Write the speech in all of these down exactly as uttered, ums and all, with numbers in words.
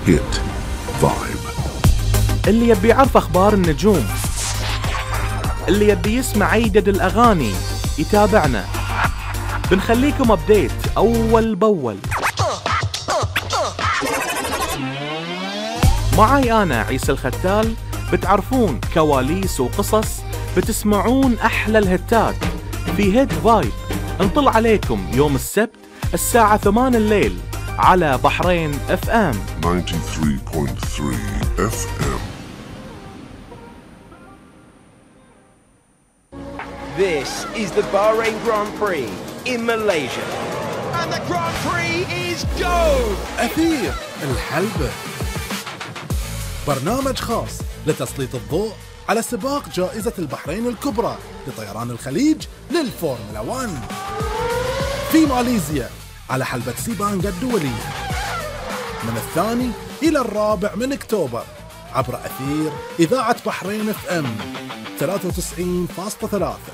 هيت فايب. اللي يبي يعرف أخبار النجوم، اللي يبي يسمع عيدد الأغاني يتابعنا، بنخليكم أبديت أول بأول. معاي أنا عيسى الختال، بتعرفون كواليس وقصص، بتسمعون أحلى الهتات في هيت فايب. انطل عليكم يوم السبت الساعة ثمان الليل على بحرين اف ام تسعة وتسعين فاصلة ثلاثة اف ام. This is the Bahrain Grand Prix in Malaysia. And the Grand Prix is go! أثير الحلبة، برنامج خاص لتسليط الضوء على سباق جائزة البحرين الكبرى لطيران الخليج للفورمولا واحد في ماليزيا على حلبة سيبانغ الدولية من الثاني إلى الرابع من أكتوبر عبر أثير إذاعة بحرين اف ام ثلاثة وتسعين فاصلة ثلاثة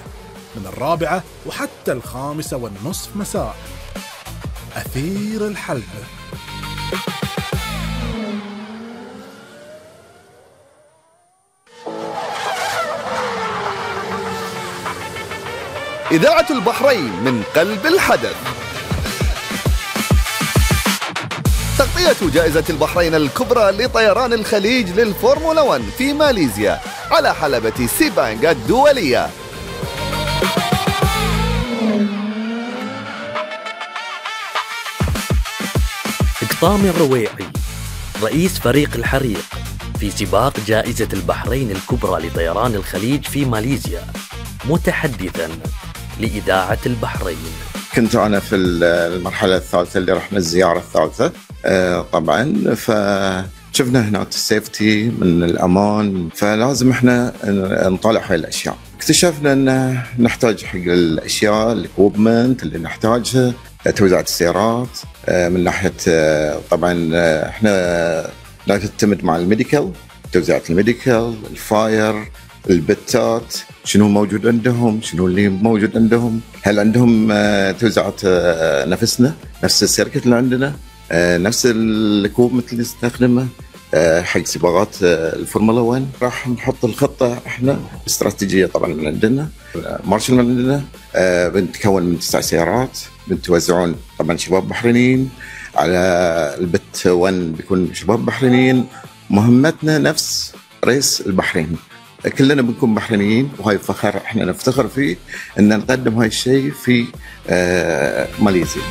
من الرابعة وحتى الخامسة والنصف مساء. أثير الحلبة. إذاعة البحرين من قلب الحدث. تغطية جائزة البحرين الكبرى لطيران الخليج للفورمولا واحد في ماليزيا على حلبة سيبانغ الدولية. قطامي الرويعي رئيس فريق الحريق في سباق جائزة البحرين الكبرى لطيران الخليج في ماليزيا، متحدثاً لإذاعة البحرين. كنت أنا في المرحلة الثالثة اللي رحنا الزيارة الثالثة طبعاً، فشفنا هناك السيفتي من الأمان، فلازم إحنا نطالع هاي الأشياء. اكتشفنا أن نحتاج حق الأشياء الإكوبمنت اللي نحتاجها، توزيع السيارات من ناحية طبعاً إحنا لا تعتمد مع الميديكال، توزيع الميديكال، الفاير، البتات، شنو موجود عندهم، شنو اللي موجود عندهم، هل عندهم توزيعات نفسنا نفس السيركت اللي عندنا، نفس الكوبمنت اللي نستخدمه حق سباقات الفورمولا واحد. راح نحط الخطة احنا استراتيجية طبعا من عندنا، مارشل من عندنا، بنتكون من تسع سيارات، بنتوزعون طبعا شباب بحرينيين على البت واحد، بيكون شباب بحرينيين. مهمتنا نفس رئيس البحرين، كلنا بنكون بحرينيين، وهاي فخر احنا نفتخر فيه ان نقدم هاي الشيء في ماليزيا.